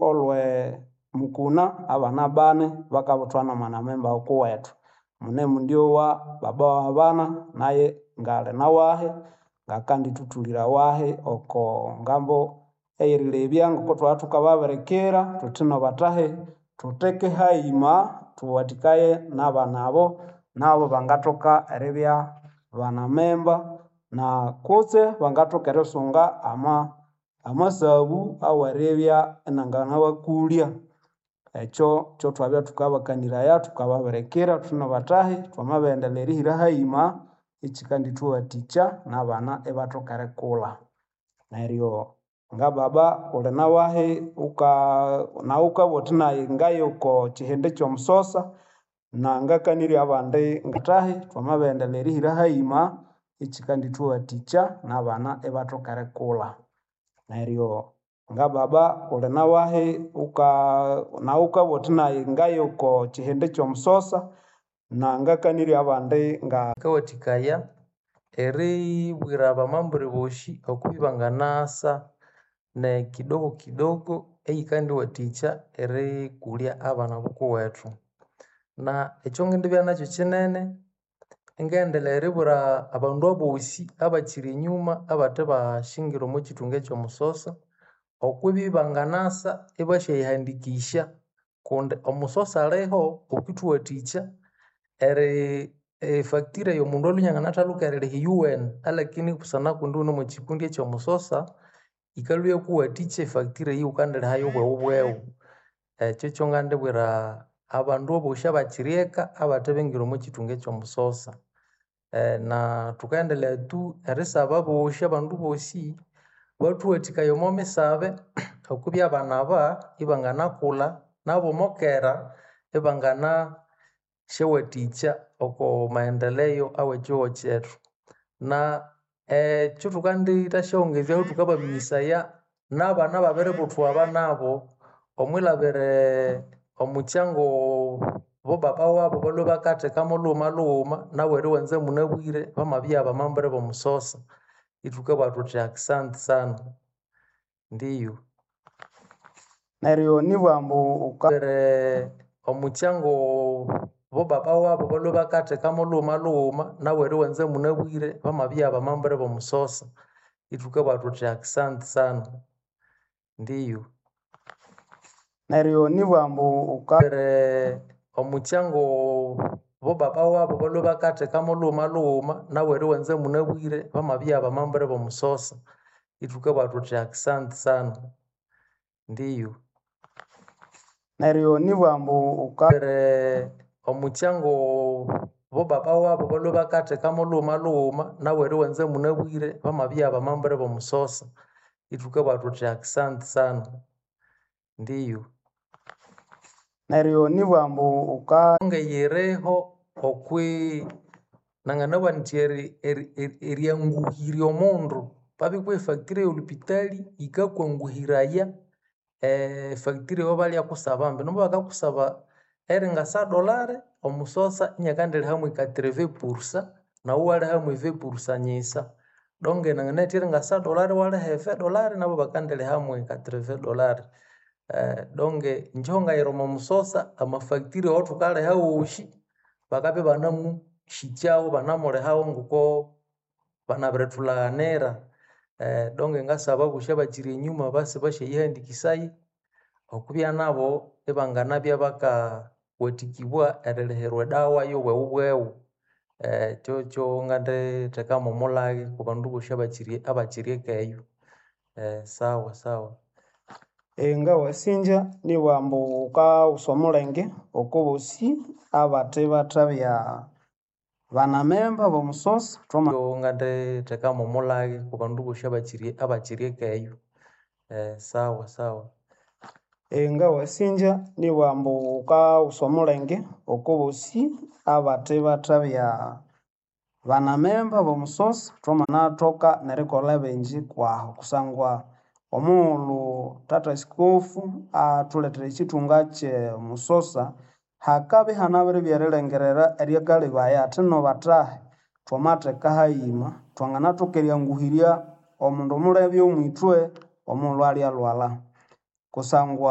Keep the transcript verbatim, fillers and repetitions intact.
Olwe mukuna abana bani bakabuthwa nomwanamemba wukuwethu. Munemundyowa baba wabana naye ngali nawahi ngakandithuthulira wahi oko ngambo eyerilebya ngoko thwabya thukababirikira thuthi nobathahi thutheke hayima thuwathikaye nabana abo nabo bangathoka eribya banamemba na kutse bangathoka erisunga ama amasabu aweribya inanganabakulya. Ekyo kyathwabya thukabakaniraya thukababirikira thuthi nobathahi twamabirighendelha erihira hayima ikyikandithuwathikya nabana ibathoka erikulha. Neryo ngababa wuli nawahi wuka nawu wukabugha wuthi nayi ngaye okokyihindi kyomusosa nangakanirya abandi ngathahi twamabirighendelha erihira hayima ikyikandithuwathikya nabana ibathoka erikulha. Neryo ngababa wuli nawahi wuka nawu wukabugha wuthi nayi ngaye okokyihindi kyomusosa nangakanirya abandi nga Yikawathikaya eribwira abamambre bosi okubya ibanganasa nekidogo kidogo eyikandiwathikya erikulya abana bukuwethu. Na ekyangindibya nakyu kyinene ingaghendelhaya eribwira abandu abosi abakyiri enyuma abathebasyingira omwakyithunga ekyomusosa okwibya ibanganasa ibasyayihandikisya kundi omusosa aliho okwithuwathikya eri efacture eyomundu alhwe inianganathaluka eririha iyuwene alakini busana kundi ighune omwakyikundi ekyomusosa yikalhwa iyakuwathikya efacture eyo ighukandiliha bweghubweghu. Ekyo kyongandibwira abandu abosi abakyiri eka abathe bingira omwakyithunga ekyomusosa. Na thukaghendelhaya tu erisaba abosi abandu bosi bathuwathikaye omwamisabe okwibya abana aba ibanganakulha nabo omokera ibangana syawathikya oko maendeleo awekyihugho kyethu. Na ekyathukendithasyaghongezyahu thukabaminyisaya nabana ababiributhwa aba nabo omwilhabira omukyango bobaba wabu balhwe bakatheka mulhughuma lhughuma nabo eriwanza munabwire bamabya bamambre bomusosa. Ithukabugha thuthi akisanti sana, ndiyo. Neryo nibugha ambu wuka omukyango bobaba wabu balhwe bakatheka mulhughuma lhughuma nabo eriwanza munabwire bamabya bamambre bomusosa. Ithukabugha thuthi akisanti sana, ndiyo. Neryo nibugha ambu wuka omukyango bobaba wabu balhwe bakatheka mulhughuma lhughuma nabo eriwanza munabwire bamabya bamambre bomusosa. Ithukabugha thuthi akisanti sana, ndiyo. Neryo nibugha ambu wuka omukyango bobaba wabu balhwe bakatheka mulhughuma lhughuma nabo eriwanza munabwire bamabya bamambre bomusosa. Ithukabugha thuthi akisanti sana, ndiyo. Neryo nibugha ambu wuka Ngeyiriho okwi nanganabugha indi eri- eri- eryanguhirya omundu babikuha efacture eyolhupitali yikakwanguhiraya efacture eyabalyakusaba ambi nomubakakusaba eringa cent dollars omusosa iniakandiliha mwe quatrevingts pourcent nawu iwaliha mwe vingt pourcent nyisa. Donc nanganatha eringa cent dollars iwaliha e vingt dollars nabo ibakandiliha mwe quatrevingts dollars. Donc inje ahangayira omomusosa amafacture awathukaliha awosi bakabya ibanamusikyawu ibanamulihawu ngoko banabiritulhaghanira. Donc ngasaba abosi abakyiri enyuma base basyayihandikisaya okwibya nabo ibanganabya bakawathikibwa erilihirwa edawa yobweghubweghu. Kyokyo nganditheka mwomulhaghe okwabandu bosi abakyiri abakyiri eka eyo sawa sawa. Ngawasinja nibugha ambu wukawusa omulenge okobosi abathebathabya banamemba bomusosa thwama Nganditheka mwomulhaghe okwabandu bosi abakyiri abakyiri eka eyo sawa sawa. Ngawasinja nibugha ambu wukawusa omulenge okobosi abathebathabya banamemba bomusosa thwamanathoka nerikolha bingi kwahu kusangwa omughulhu thatha sikofu athulethera ekyithunga kyomusosa hakabya ihanabiribya erilengerera eryakalebaya athi nobathahi thwamatheka hayima thwanganathoka eryanguhirya omundu mulebe omwithwe omughulhu alyalhwalha kusangwa.